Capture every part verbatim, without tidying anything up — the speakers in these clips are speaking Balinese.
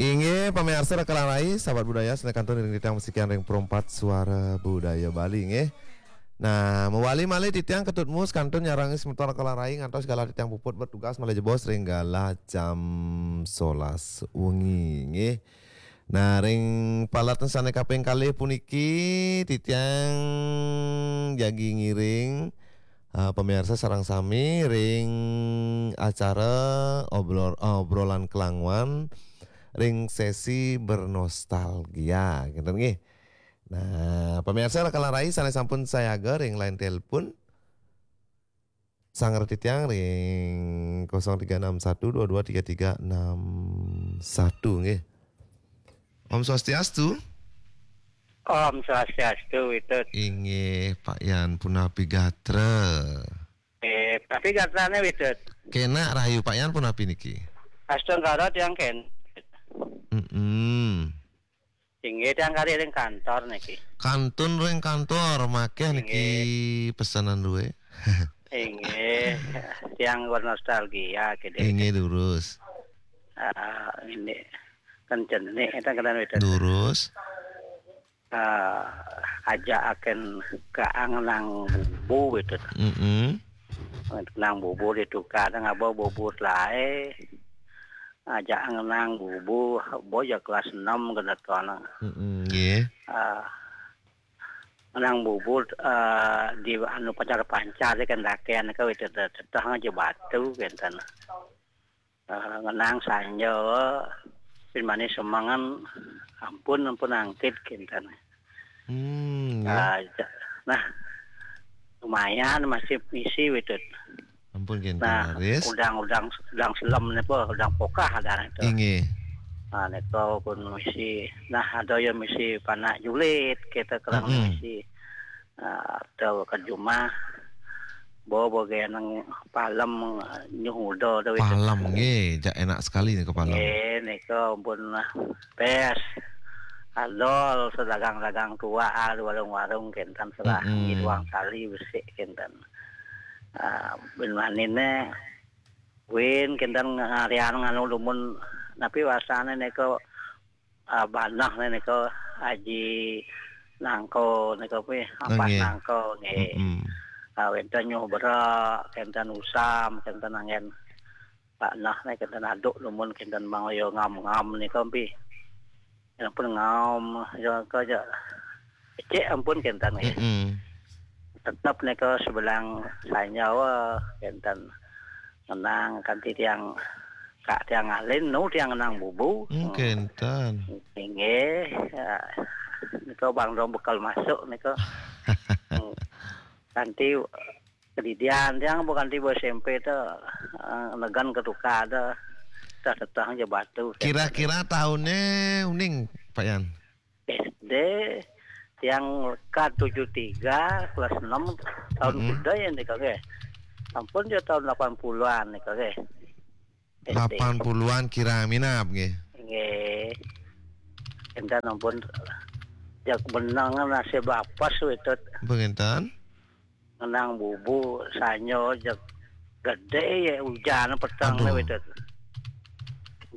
Inggih, pamiarsa Raka lan Rai, sahabat budaya, sané kantun ring titiang masikian ring Pro empat Suara Budaya Bali, nggih. Nah, mawali malih titiang Ketut Mus kantun nyarengang semeton Raka lan Rai ngantos galah titiang puput bertugas malih jebos ring galah jam solas wengi, nggih. Nah, ring paletan sané kaping kalih puniki titiang jagi ngiring, ah, pamiarsa sareng sami ring acara obrol-, ah, obrolan kelanguan ring sesi bernostalgia, ngéten nggih. Nah, pamiarsa Raka lan Rai sané sampun sayaga ring line telepon, sanggra titiang ring kosong tiga enam satu dua dua tiga tiga enam satu, nggih. Om Swastiastu. Om Swastiastu, Witut. Inggih, Pak Yan, punapi gatra? Eh, tapi gatrané, Witut. Kénak rahayu, Pak Yan, punapi niki? Astu negara tiang kén. Mm-mm. Inggih, tiang kari ring kantor niki. Kantun ring kantor, makéh niki. Inggih. Pesenan duwé. Inggih, tiang bernostalgia, kéné. Inggih, durus. Ah, ini kan jenik, éta kadang beda. Durus. Ah, ajakaken ka ngenang bubu gitu. Mm-mm. Ngenang bubu ditukar, ngaba bubu laé. Ajak ngenang bubu, bo ya kelas enam kena tuan. Mm-mm, nggih. Ah, ngenang bubu, ah, di anu pancar-pancar di kendakian ke wit teteh aja batu kenten. Ah, ngenang sanja, pin manis semangan, ampun, ampun angkit kenten. Hmm, nggih. Ah, ja-, nah, lumayan masih misi wit. Ampun, kinten. Nah, raris. Udang, udang, udang selem napa, udang pokah ada itu. Inggih. Ah, nika pun misi. Nah, ada yang misi panak julid, kita kerang, mm-mm, misi. Ah, ada ke jumah. Bawa bagian nang palem, nyuh uda ada itu. Palem, nggih, jak enak sekali nika palem. Nggih, nika pun, ah, bes. Adol sedagang-dagang tua, ah, di warung-warung kenten selah, mm-mm, ngiduang tali besik kenten. Ah, bin maniné, win, kenten ngarian nganu dumun, napi wastané nika, ah, banah nika, Aji Nangko nika, pi, ampas, nggih, Nangko, nggih. Mm-mm. Ah, wénten nyuh berak, kenten usam, kenten anggén. Pak nah, nih, kenten aduk dumun, kenten mangaya ngam-ngam nika, pi. Ampun ngam, ya, ka, ja. Cek ampun kenten, ya. Mm-mm. Tetep nika sebelang sanyawa kenten. Ngenang kanti tiang, kak tiang ngalin, nu tiang ngenang bubu. Hmm, kenten. Inggih, ya. Nika bang dong bekal masuk nika. Hmm. Kanti kedidian tiang bukan tiba S M P tu, eh, negan ketuka ada. Dah teteh aja batu. Kira-kira tahunnya uning, Pak Yan? S D tiang lekat tujuh tiga, kelas enam, tahun, mm-mm, kuda ya nika, nggih. Ampun, ya tahun delapan puluhan nika, nggih. S D. Delapan puluhan kira minab, nggih. Nggih. Enten ampun, jak benang nasib apes witut. Penginten? Ngenang bubu sanyo, jak gedé ya ujan peteng. Aduh. Witut.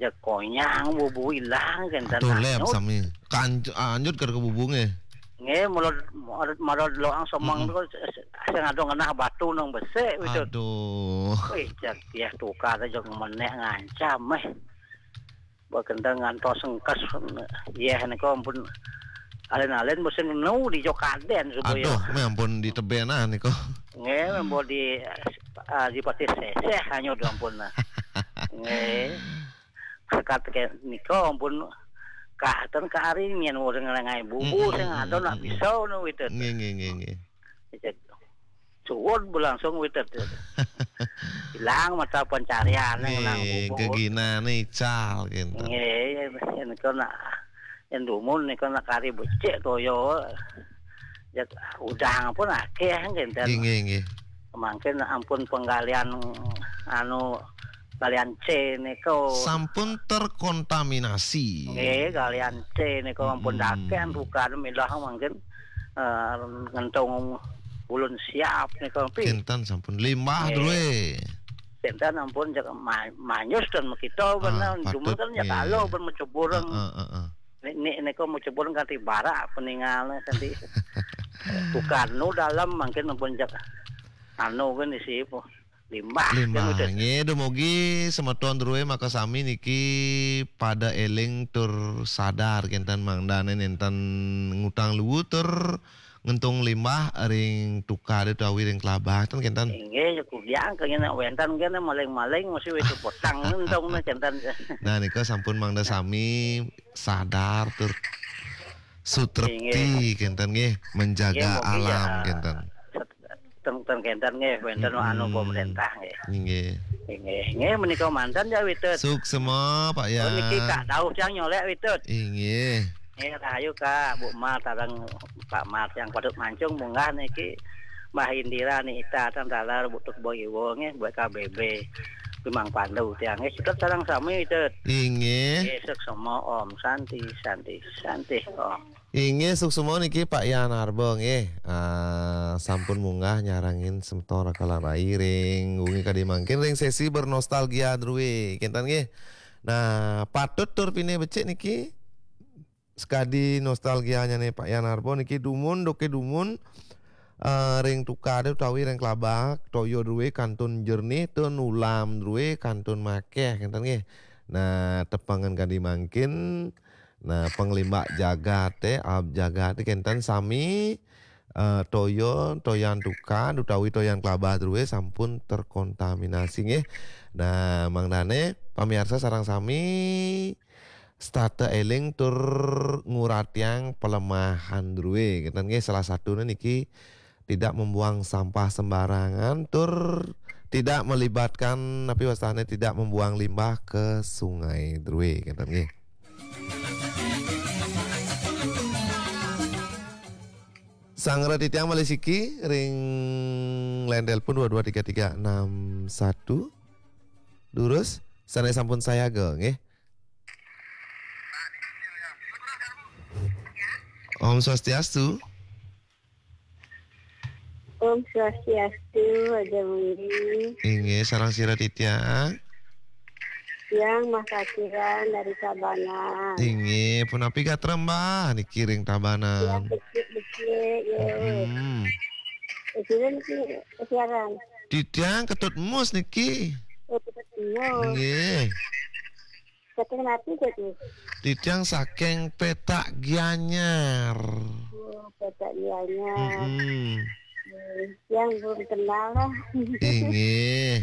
Jak konyang bubu ilang kenten. Aduh, lem anyut. Sami. Kanj-, anyut karo bubu nggih. Nggih, mulod, mulod, mulod loang semeng, mm-mm, tu, sing ada ngenah batu nang besik witut. Aduh. Wih, jak dia tukar aja menek ngancam, eh. Buat kenten ngantos engkes, yeh, nika ampun alin-alin mesti nu di Jokaden supaya. Aduh, meh ampun di tebén, ah, nika. Nggih, ampun di, ah, di Patih Seseh hanya udah ampun, nah. Nggih. Sekat ke nika ampun katen karing yen urang ngelengai bubu, mm-mm, sing ada nak, mm-mm, pisau nu witut. Nggih, nggih, nggih, nggih. Cek, suwun berlangsung witut. Hilang mata pencarian yang nang. Nggih, bubu. Geginané ical kenten. Nggih, yen kena, yen dumun nika nak kari becik toyo. Ya, udang pun akeh kenten. Nggih, nggih, nggih. Mangkin ampun penggalian, anu, galian C nika. Sampun terkontaminasi. Nggih, galian C nika ampun, mm-mm, dakek bukan milah mangkin, eh, ngentung ulun siap nika, pi. Kinten sampun limbah, nggih, druwe. Ten ampun, cek ma-, manyus ten makita. Ah, bener, cuma patut, kan ya nggih. Kalau ben macebureng. Heeh, heeh. Nek, nek, nek kok macebureng kanthi barak peningalne kanthi tukanu dalam mangkin ampun cek anu kan isi apa? Limbah, kan. Limbah. Udah. Nggih, dumugi semeton druwe makasami niki pada eling tur sadar kenten mangdane nenten ngutang luwu tur ngentung limbah ring tukade utawi ring klabah ten kenten. Inggih, ya kugiang kengene wenten kene maling-maling mesti wis petang ngentong ne kenten. Nah, nika sampun mangda sami sadar tur sutrepti. Inggih. Kenten nggih, menjaga. Inggih, mugi alam ya. Kenten. Ten, ten kenten nggih, wenten. Mm-mm. Anu pemerintah nggih. Inggih. Inggih, nggih menika manten ya Witut. Suksema, Pak. Oh, niki Yan. Kak Dauh yang nyolek Witut. Inggih. Nggih, rahayu Kak, Bu Mar sareng Pak Mar yang patut mancung munggah niki Mbah Indira Nita ten taler Bu Tukbo Iwo nggih, buat K B B. Bimang Pandu tiang nggih, sutrep sareng sami Witut. Inggih. Nggih, suksema Om, Santi, Santi, Santi Om. Inggih, suksema niki Pak Yan Arba nggih. Ah, sampun munggah nyarengin semeton rakalan rai ring wengi kadi mangkin ring sesi bernostalgia druwe. Kenten nggih. Nah, patut tur pinih becik niki. Sekadi nostalgianyane Pak Yan Arba niki dumun, duke dumun, eh, ring tukade utawi ring klabah, toya druwe kantun jernih tur nulam druwe kantun makeh, kenten nggih. Nah, tepengan kadi mangkin, nah, panglimbak jagate, ab jagate kenten sami, eh, toya, toyan tukad utawi toyan klabah druwe sampun terkontaminasi nggih. Nah, mangdane pamiarsa sareng sami setata eling tur nguratiang pelemahan druwe. Kenten nggih, salah satune niki tidak membuang sampah sembarangan tur tidak melibatkan, napi wastane, tidak membuang limbah ke sungai druwe. Kenten nggih. Sanggra titiang malih siki ring line telepon dua dua tiga tiga enam satu. Durus, sane sampun sayaga, nggih. Om Swastiastu. Om Swastiastu, Aja Budi. Inggih, sareng sira titiang. Tiang Mas Akiran dari Tabanan. Inggih, punapi gatra Mbah niki ring Tabanan? Tiang becik-becik, ya. Hmm. Akiran niki siaran. Titiang Ketut Mus niki. Oh, Ketut Mus. Nggih. Saking napi, Cik? Titiang saking Petak Gianyar. Oh, Petak Gianyar. Mm-mm. Hmm, yang belum kenal lah. Inggih.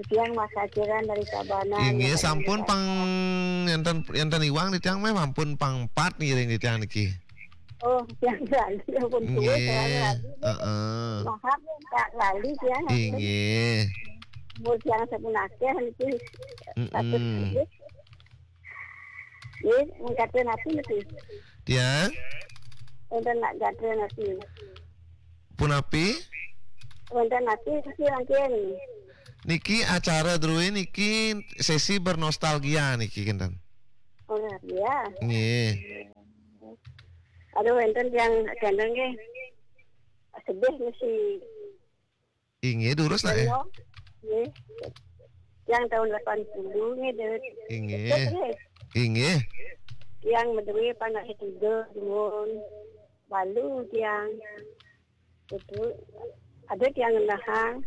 Tiang Mas Akiran dari Tabanan. Inggih, sampun pang enten, enten iwang titiang meh sampun pang empat ngiring titiang niki. Oh, yang lali, ya pun tulis, nggih, yang lali. Heeh. Maaf, ya, Kak, lali, ya. Inggih. Umur yang sampun akeh niki. Mm-mm. Patut tulis. Nggih, mengkate napi niki? Tiang? Wonten nak gatra napi? Punapi? Wonten napi niki mangkin? Niki acara druwe niki sesi bernostalgia niki, kinten. Oh, ya. Nggih. Aduh, wonten yang gandeng nggih. Sedih mesti. Inggih, durus lah, eh. Nggih. Yang tahun delapan puluh nggih, Dut. Inggih. Dut, nggih. Inggih. Yang medue panak tiga dumun. Balu tiang. Itu ada tiang ngenahang.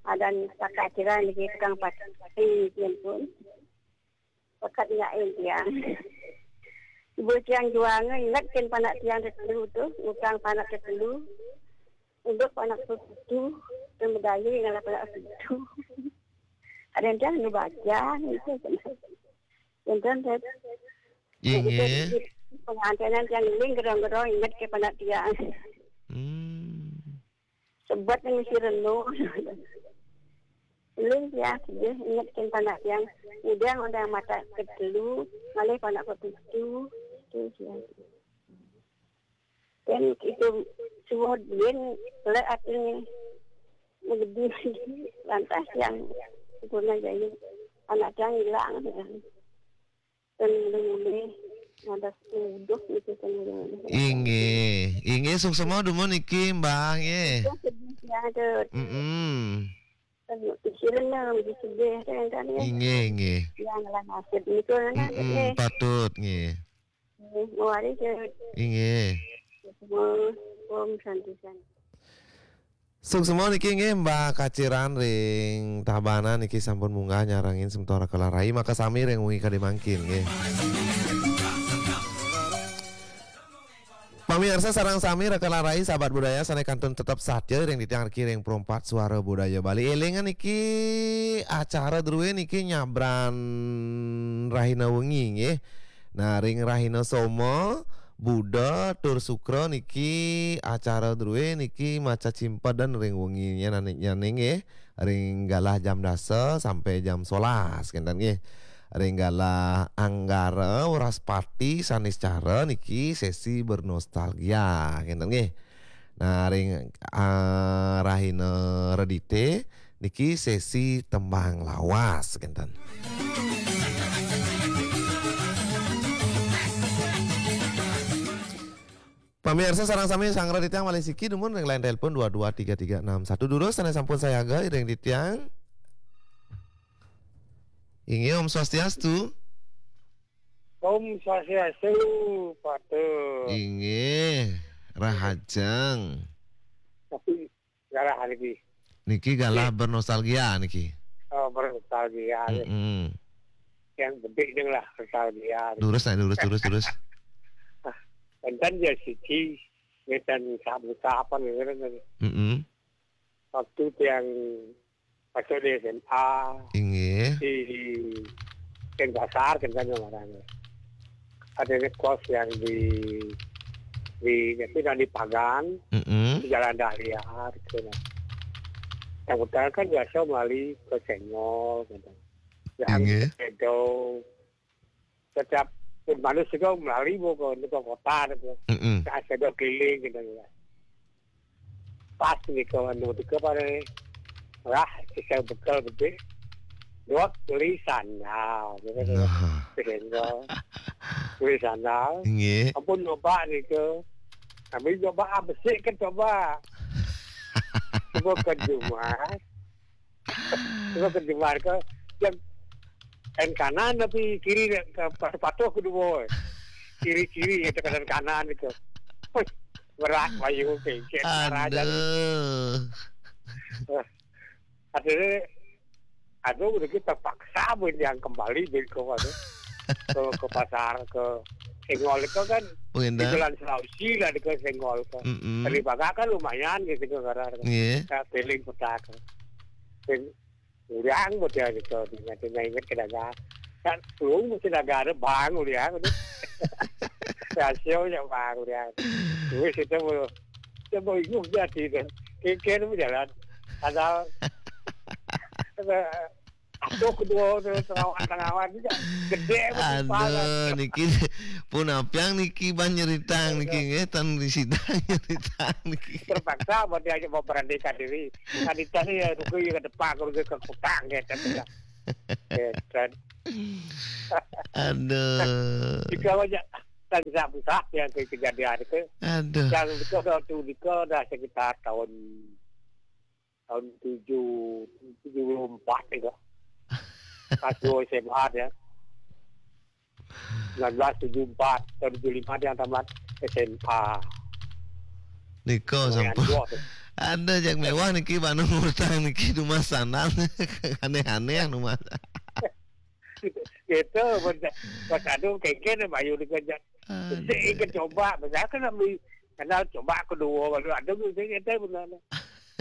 Ada panak tiang niki tukang pati, niki pun. Pekat nyain tiang. Ibu tiang juang inget ken panak tiang tetelu tu, utang panak tetelu. Untuk panak tetelu, dan medaya ngalah panak tetelu. Ada yang tiang nu baca, itu. Enten, Tet. Inggih. Pengantenan tiang ling gerong-gerong inget ke panak tiang. Hmm. Sebut ning mesti reno. Ling ya, dia inget ken panak tiang. Udah, udah mata ketelu, malih panak ketujuh. Itu dia. Dan itu semua dia lek artinya menggede lantas yang guna jadi anak tiang hilang ya. Ten mulih-mulih ngadas uduk niki ten mulih-mulih. Inggih, inggih, suksema dumun niki, Mbah, nggih. Itu sedih ya, Dut. Mm-mm. Kan pikiran lah, mesti sedih kan, kan, ya. Inggih, inggih. Yang lah nasib niku, kan, Mm-mm, nggih. Patut, nggih. Nggih, mari ke Inggih. Semua, Om Santi, Santi. Suksma niki nggih, Mbah Kaciran ring Tabanan niki sampun munggah nyarengin semeton Raka Larai, maka sami ring wengi kadi mangkin nggih. Pamiarsa sareng sami, Raka Larai, sahabat budaya sane kantun tetep satya ring titiang riki ring Pro empat Suara Budaya Bali. Elingan niki acara druwe niki nyabran rahina wengi nggih. Nah, ring rahina Soma, Buda, tur Sukra niki acara druwe niki macacimpeden ring wengi nyane, nyane nggih. Ring galah jam dasa sampai jam sebelas kenten nggih. Ring galah Anggara, Wraspati, Saniscara niki sesi bernostalgia kenten nggih. Nah, ring, ah, rahina Redite niki sesi tembang lawas kenten. Pamiarsa sareng sami, sanggra titiang malih siki dumun ring line telepon dua dua tiga tiga enam satu. Durus sane sampun sayaga ring titiang. Inggih, Om Swastiastu. Om Swastiastu, Patut. Inggih, rahajeng. Tapi galah niki. Niki galah Nggih. Bernostalgia niki. Oh, bernostalgia, nggih. Mm-mm. Yang penting ning lah nostalgia. Durus, nah, durus, durus, durus. Enten ya siki, ngeten sabu-sapan ngeten. Mm-mm. Waktu tiang masuk di S M A, Inggih. Di Denpasar, kan, kan, namanya. Ada kos yang di, di, tapi di Pagan, Mm-mm. Di Jalan Dahlia, gitu, nah. Yang utara kan biasa melalui ke Senggol, gitu. Yang Inggih. Sedo, setiap pun manusia juga melalui mau ke, ke kota, gitu. Mm-mm. Ke Sedo keliling, gitu, ya. Pas nika anu nika pare lah, isa bekel bedik. Dot beli sandal, gitu, gitu. Nah. Sehingga beli sandal. Nggih. Ampun, coba nika. Kami coba, ah, besik kan coba. Coba ke Jumat. Coba ke Jumat ke, yang kanan tapi kiri ke, patuh-patuh kedua. Kiri-kiri itu kanan-kanan itu. Wih, berat, bayu, kengket, raja. Aduh. Eh, akhirnya, aduh, udah kita paksa pun yang kembali, jadi ke mana? Ke, ke pasar, ke Senggol itu kan di Jalan Sulawesi lah, di ke Senggol ke. Mm-mm. Dari Bagak kan lumayan gitu ke, karena Iya. Saya feeling kota ke. Sing uliang model gitu, ingat, ingat ke dagang. Kan lu mesti dagang ada bang uliang, udah. Rasio ya bang uliang. Wis itu mau, itu mau inguh jadi itu. Kengken mau jalan. Ada, ada, atuh kedua tu, tengawan-tengawan juga. Gede betul. Aduh, niki pun apiang niki ban nyeritang niki nggih, tan disidang nyeritang niki. Terpaksa buat dia aja mau beranikan diri. Kan itu ya, rugi ke depan, rugi ke kutang, ya, kan, ya. Ya, kan. Aduh. Jika aja tak bisa-bisa yang ke kejadian itu. Aduh. Yang itu dah tu, itu dah sekitar tahun, tahun tujuh, tujuh puluh empat itu. Pas gua S M A ya. Sembilan belas tujuh empat, tahun tujuh lima dia tamat S M A. Nika sampun. Ada yang mewah niki, Banu Murtang niki, rumah sana. Aneh-aneh rumah. Gitu, pas, pas anu kengken bayu nika aja. Aduh. Saya ikut coba, misalkan ambil kenal coba kedua, baru ada, saya kata benar.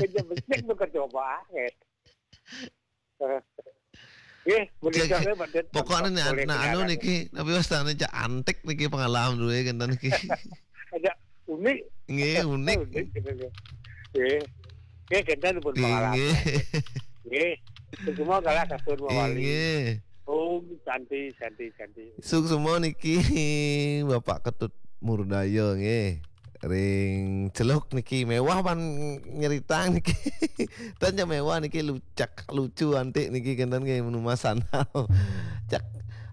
Kerja besar tu coba, gitu. Eh. Nggih, menika. Cek, nggih, mboten pokoknya nih, boleh nah, anu niki, tapi wis tane cak antik niki pengalaman dulu ya, kenten niki. Ada unik. Nggih, unik. Unik gitu, nggih. Nggih. Nggih, kenten pun pengalaman. Nggih. Nggih. Semua kalah kasur mawali. Nggih. Om Santi, Santi, Santi. Suksma niki Bapak Ketut Murdaya nggih. Ring Celuk niki mewah pan nyeritang niki. Tanya mewah niki lucak lucu antik niki kenten nggih, menu Mas Anal. Cak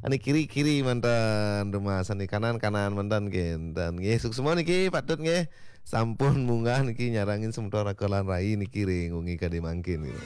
ane kiri-kiri manten rumah sane, kanan-kanan manten kenten nggih. Suksma niki patut nggih. Sampun munggah niki nyarengin semeton Raka lan Rai niki ring wengi kadi mangkin gitu.